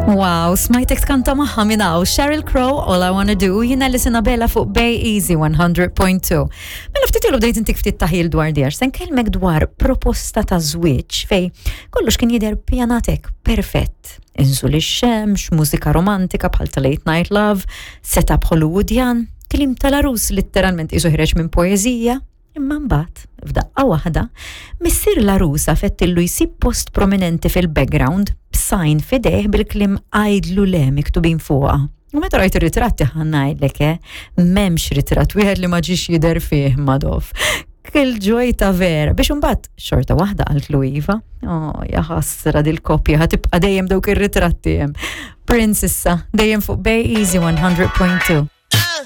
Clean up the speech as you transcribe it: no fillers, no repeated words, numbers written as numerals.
Wow, smajtek tkanta magħha minn hawn Sheryl Crow, All I Wanna Do, jiena li Bella fuq Bay Easy 100.2. Mela ftit ilu bdejt intik ftit taħil dwar di għax se nkellmek dwar proposta ta' żwieġ fej kollox kien jidher pjanatek perfett. Inżul ix-xemx, mużika romantika bħal ta' Late Night Love, setup Hollywoodian, kliem tal-arus litteralment isu ħreġ minn poeżija. Imma mbagħad, f'daqqa waħda, missier l-għarusa fettillu jsib post prominenti fil-background b'sajn f'idejh bil-kliem għidlu le miktubin fuqha. U meta rajt ir-ritratti ħa ngħidlek eh, m'hemmx ritratt wieħed li ma ġiex jidher fih Madoff. Kull ġojta vera biex imbagħad xorta waħda qaltlu iva. Oh, ja ħasra dil-koppja ħa tibqa' dejjem dawk ir-ritratti hemm. Prince issa, dejjem fuq Bay Easy 100.2.